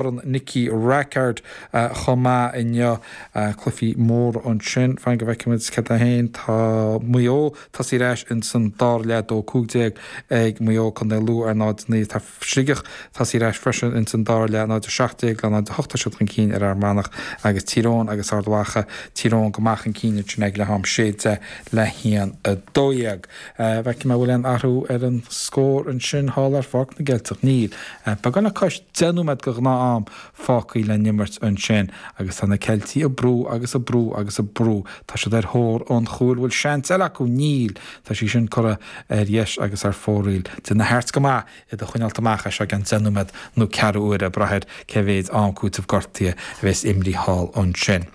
Corn Nicky Rackard chomh maith inniu. Cluichí móra ansin. Fan go bhfeicfimid cad é féin. Tá Maigh Eo tosaithe ar ais ins an dara leath, 2-15 ag Maigh Eo, Contae Lú ar 0-9. Tá Sligeach tosaithe ar ais freisin ins an dara leath, 0-17 le 0-8 tá siad chun cinn ar Fhear Manach agus Tír Eoghain agus Ard Mhacha, Tír Eoghain go maith chun cinn ansin ag leath am, 6-10 le 1-12. Feicfidh mé an bhfuil aon athrú ar an scór ansin thall ar Pháirc na gCeilteach. Níl. Beagán le cois 10 nóiméad de ghnáth-am fágtha le n-imirt ansin agus tá na Ceiltigh ag brú agus ag brú agus ag brú. Tá siad ar thóir an chúil. Bhfuil seans eile acu? Níl. Tá sí sin curtha ar dheis agus ar fóraoil. D'imir na Hearts go maith iad a choinneáilt amach as seo i gceann 10 nóiméad nó ceathrú uaire ag brath ar cé mhéid am cúitimh gortaithe a bheas imrithe thall ansin.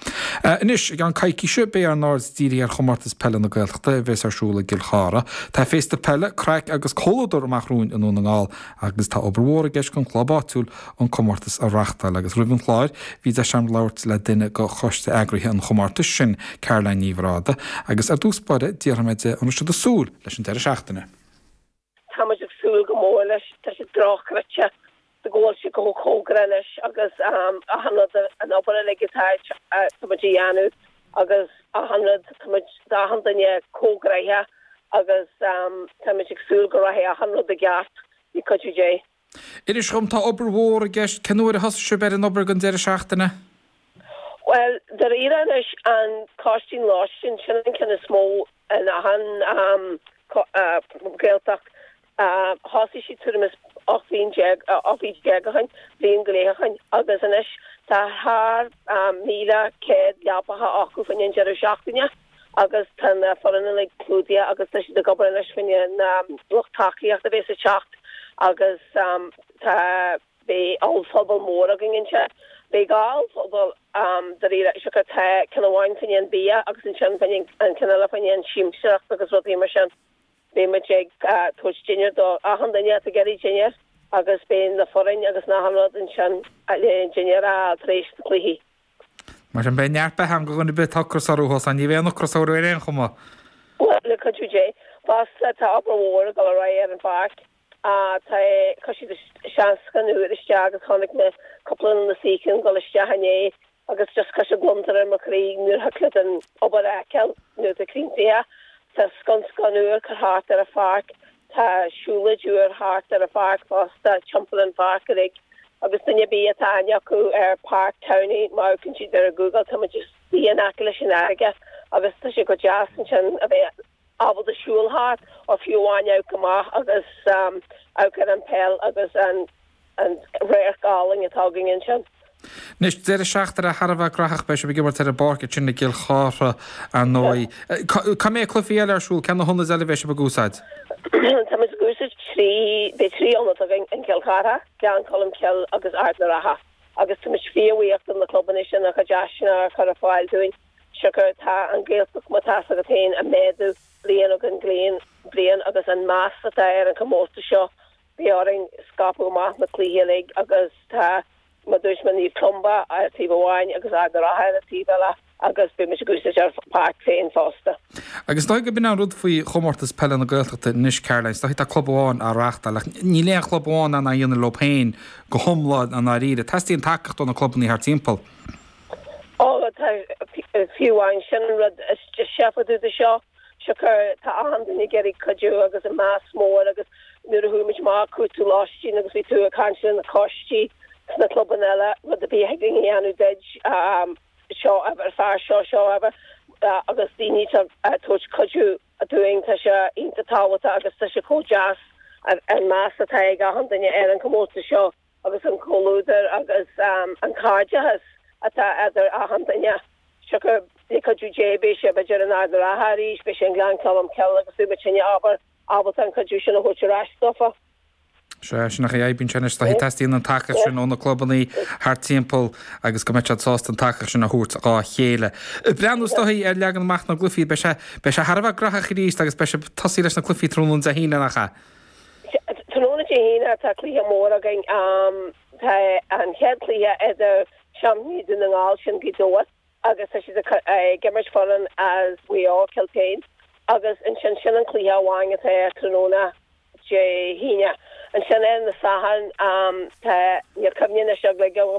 Anois, i gceann coicíse, beidh ár n-aird dírithe ar Chomórtas Peile na Gaeltachta a bheas ar siúl i gCill Chartha. Tá féasta peile, craic agus comhluadar amach romhainn i nDún na nGall agus tá obair mhór i gceist don chlub áitiúil an comórtas a reachtáil. Agus roimh an chlár, bhí deis agam labhairt le duine de choiste eagraithe an chomórtais, sin Caroline Ní Bhráda, agus ar dtús báire, d'fhiafraigh mé di an raibh siad ag súil leis an deireadh seachtaine. Tá muid ag súil go mór leis. Tá sé dochreidte go bhfuil sé chomh cóngarach anois agus achan rud, an obair uilig atá tá muid a dhéanamh agus achan rud, tá muid, tá achan duine chomh gnoitheach agus tá muid ag súil go rachaidh achan rud i gceart le cuidiú Dé. Inis dhom, tá obair mhór i gceist, cén uair a thosaigh sibh ar an obair don deireadh seachtaine? Bhuel, dáiríre anois, an costas lóistín, sin an ceann is mó in achan Gaeltacht. Thosaigh siad tuairim is 18 mhí ó shin, bliain go leith ó shin, agus anois tá thar 1,100 leapacha acu fá choinne an deireadh seachtaine agus tá na foireann uilig clúdaithe agus tá siad ag obair anois fá choinne na lucht tacaíochta a bheas ag teacht agus tá Beidh ollphuball mór againn ansin. Beidh dhá ollphuball dáiríre, siocair tá ceann amháin fá choinne an bia agus ansin fá choinne an ceann eile fá choinne an siamsaíocht agus rudaí mar sin. Beidh muid ag tabhairt dinnéar do achan duine atá ag iarraidh dinnéar agus beidh na foireann agus achan rud ansin le dinnéar a fháil tar éis na cluichí. Mar sin beidh neart beatha ann do dhuine ar bith atá ocras orthu thuas ann. Ní bheidh aon ocras orthu ar aon chuma. Bhuel, le cuidiú Dé. Fosta tá obair mhór ag dul ar aghaidh ar an pháirc. Tá, chuir siad seanscáin úr isteach agus chonaic mé cúpla de na suíocháin ag dul isteach inné agus just chuir sé gliondar ar mo chroí nuair a thig leat an obair a fheiceáil nuair atá críochnaithe. Tá sconcán úr curtha thart ar an pháirc, tá siúlóid úr thart ar an pháirc fosta, timpeall an pháirc uilig agus duine ar bith atá aithne acu ar Páirc Towney má amharcann siad ar Google tá muid istigh in aice leis an fharraige agus tá sé go deas ansin a bheith ábalta siúl thart or fiú amháin amharc amach agus amharc ar an peil agus an radharc álainn atá againn ansin. Anois, deireadh seachtaine thar a bheith graitheach, beidh sibh ag imirt ar an bpáirc ansin i gCill Chartha, ar ndóigh. Cá mbeidh cluichí eile ar siúl? Cé na hionaid eile a bheidh sibh ag úsáid? Tá muid ag úsáid trí, beidh trí ionad againn, in Cill Chartha, Gleann Cholm Cille agus Ard na Rátha agus tá muid fíorbhuíoch do na clubanna sin a chuid áiseanna a chur ar fáil dúinn. Siocair tá an Ghaeltacht, mar tá's agat féin, ag méadú bliain ó bhliain agus an meas atá ar an chomórtas seo, beidh orainn scaipeadh amach na cluichí uilig agus tá, mar dúirt mé, Naomh Columba ar taobh amháin agus Ard na Rátha ar an taobh eile agus beidh muid ag úsáid ár bpáirc féin fosta. Agus is dóigh gurb in an rud faoi chomórtas peile na Gaeltachta anois, Caroline, is dóigh tá club amháin á reáchtáil ach níl aon chlub amháin in ann é a dhéanamh leo féin go hiomlán i ndáiríre. Teastaíonn tacaíocht ó na clubanna thart timpeall. Ó, tá, fiú amháin sin an rud is deise fá dtaobh de seo, siocair tá achan duine ag iarraidh cuidiú agus an meas mór agus nuair a chuaigh muid amach ag cuartú lóistín agus bhí tú ag caint le na coistí sna clubanna eile, rud ar bith a thig linn a dhéanamh duit, seo ábhar, fear seo, seo ábhar, agus daoine ag tabhairt cuidiú dúinn, tá sé iontach tábhachtach agus tá sé chomh deas an meas atá ag achan duine ar an chomórtas seo. agus an comhluadar agus an cairdeachas atá idir achan duine. Siocair le cuidiú Dé beidh sé b'fhéidir in Ard na Rátha arís, beidh sé in Gleann Cholm Cille agus beidh muidinne ábhar ábalta an cuidiú sin a thabhairt ar ais dófa. Sea, sin é a oibríonn sé anois, teastaíonn an tacaíocht sin ó na clubanna thart timpeall agus go mbeidh siad sásta an tacaíocht sin a thabhairt dhá chéile. Breathnú is dóigh ar leagan amach na gcluichí, beidh sé, beidh sé thar a bheith graitheach arís agus beidh sibh ag tosaí leis na cluichí tráthnóna Dé hAoine, nach ea? Tráthnóna Dé hAoine tá cluiche mór againn. Tá an chéad chluiche idir seaimpíní Dhún na nGall, sin Gaoth Dobhair, agus tá siad ag imirt foireann as Mhaigh Eo, Kiltane, agus ansin sin an cluiche amháin atá ar tráthnóna. Dé hAoine. Ansin ar an Satharn tá, níl cuimhne anois agam.